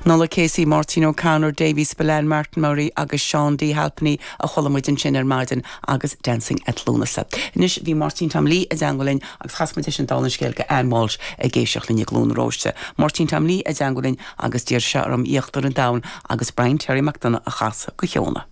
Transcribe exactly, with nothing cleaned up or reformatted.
Nola Casey, Martin O'Connor, Davy Spillane, Martin Murray agus Sean D. Halpenny a chuala muid ansin ar maidin agus Dancing at Lúnasa. Anois bhí Martin Tom Lee i dteagmháil linn agus chas muid sin dá scéal go Ann Walsh ag éisteacht linn i gCluain Róiste. Martin Tom Lee i dteagmháil linn agus d'iarr sé orm íochtar an domhain agus Brian Terry McDonough a chasadh go Sheona.